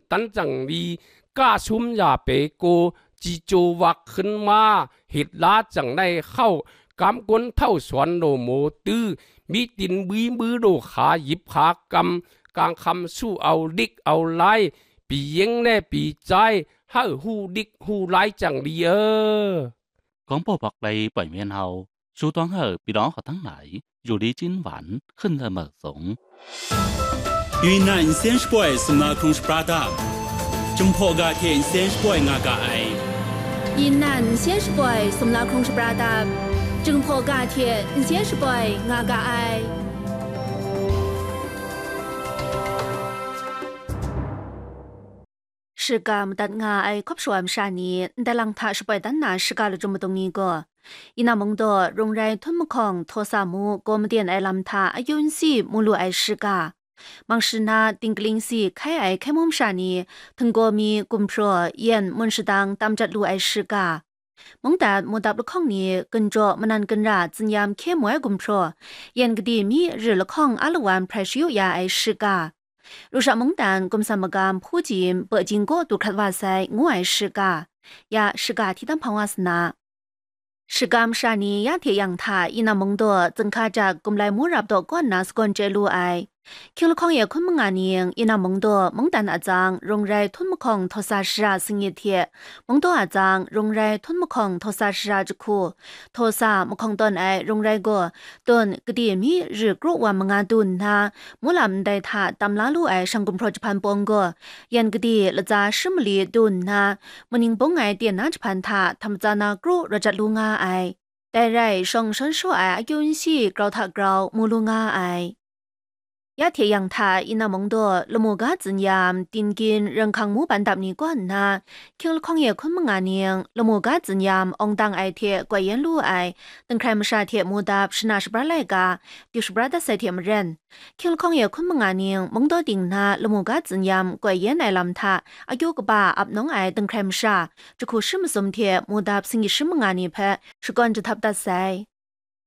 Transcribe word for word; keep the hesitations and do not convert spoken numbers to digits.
dan jang li, ka sum ya pe ko, ji chyaw wak hkun ma, hit la jang nai hkau, kam kun htau sawn law maw tu, mi tin bwi mbwi law hka yip hka kam, kang hkam su au lik au lai, pyi yeng le pyi chyai, hau hu lik hu lai jang li e. 广播博来 ပွင့်မင်းဟောက် စူးတွင်းဟောက် ပြည်တော်ဟောက်တန်းနိုင် ယူလီချင်းဝမ် ဟွန်းလမုတ်စုံ။ 云南仙石背松老空是布拉达，正破嘎铁仙石背nga ga ai。云南仙石背松老空是布拉达，正破嘎铁仙石背nga ga ai。 Shiga madat nga ai hkawp shawa masha ni ndai lang hta shapoi dan na shiga lachyum madung ni gaw, Yina Mungdaw Rung Rai Htum Mahkawng Htaw Sa Mu gaw maden ai lam hta akyu nsi mu lu ai shiga, Mangshi na Tingkaling si hkai ai hkai mu masha ni htinggaw mi gumhpraw yen mun shadang tam jat lu ai shiga, mungdan mudap lahkawng ni gunjaw manan gunra tsinyam hkye mu ai gumhpraw, yen gadi mi ri lahkawng a lawan hprai shayu ya ai shiga, Rusha mungdan gumsan magam hpu jim bajing gaw du hkrat wa sai, ngu ai shiga, ya shiga hti tam hpang wa sa na. Shiga masha ni ya hte yang hta Yina Mungdaw zinghka jak gumlai mu rap daw kaw nna sagawn chye lu ai. Hkying lahkawng e hkun manga ning Yina Mungdaw mungdan atsang Rung Rai Htum Mahkawng Htaw Sa Shara singit hte Mungdaw atsang Rung Rai Htum Mahkawng Htaw Sa Shara jahku, Htaw Sa mahkawng tawn ai Rung Rai gaw, tawn gade mi ri kru wa manga du nna, mulam ndai hta tam la lu ai shang gumhpraw jahpan pawng gaw, yan gade latsa shi mali du nna, maning bung ai ten na jahpan hta htam tsa na kru rawt jat lu nga ai. Dai rai, shawng shawn shaw ai akyu nsi grau hta grau mu lu nga ai. Ya hte yang hta Yina Mungdaw lamu ga tsinyam, Tingkin, Ranghkang mu ban dap ni kaw nna, hkying lahkawng e hkun manga ning lamu ga tsinyam awng dang ai hte goi yen lu ai, Dinghkrai masha hte mu dap shana shabra laika, du shabra dat sai hte maren, hkying lahkawng e hkun manga ning Mungdaw ting na lamu ga tsinyam goi yen ai lam hta akyu kaba ap nawng ai Dinghkrai masha, jahku shi masum hte mu dap singgyit shi manga ni hpe shakawn jahtap dat sai.